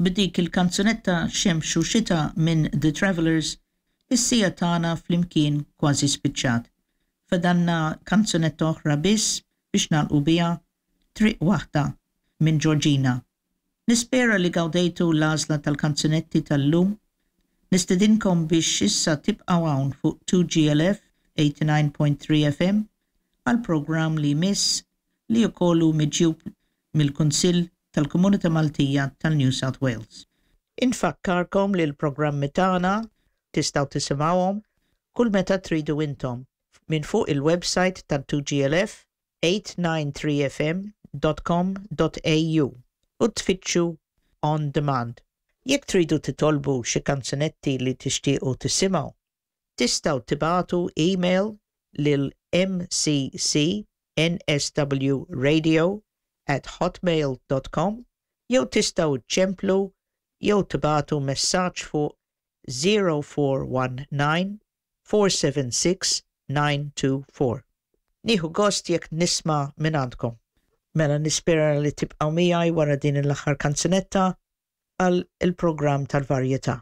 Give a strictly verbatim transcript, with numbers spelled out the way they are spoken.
B'dik il-kanzunetta Xemx u Xita minn The Travellers, is-siegħa tagħna flimkien kważi spiċċat. Fadalna kanzunetta oħra biss biex nagħlqu biha Triq Waħda minn Georgina. Nispera li gawdejtu l-għażla tal-kanzunetti tal-lum. Nistedinkom biex issa tibqgħu hawn fuq two G L F eighty-nine point three F M għal programm li jmiss li wkoll hu miġjub mill-Kunsill tal-Komunità Maltija tal-New South Wales. Infakkarkom li l-programmi tagħna tistgħu tisimgħuhom kull meta tridu intom minn fuq il-website tal-two G L F eight nine three F M dot com dot A U u tfittxu On Demand. Jekk tridu titolbu xi kanzunetti li tixtiequ tisimgħu, tistgħu tibagħtu email lil M C C N S W radio at hotmail dot com jew tistgħu ċemplu jew tibagħtu messaġġ fuq zero four one nine four seven six nine two four. Nieħu gost jekk nisma' minn għandkom. Mela nispera li tibqgħu miegħi wara din l-aħħar kanzunetta għal il-programm tal-varjetà.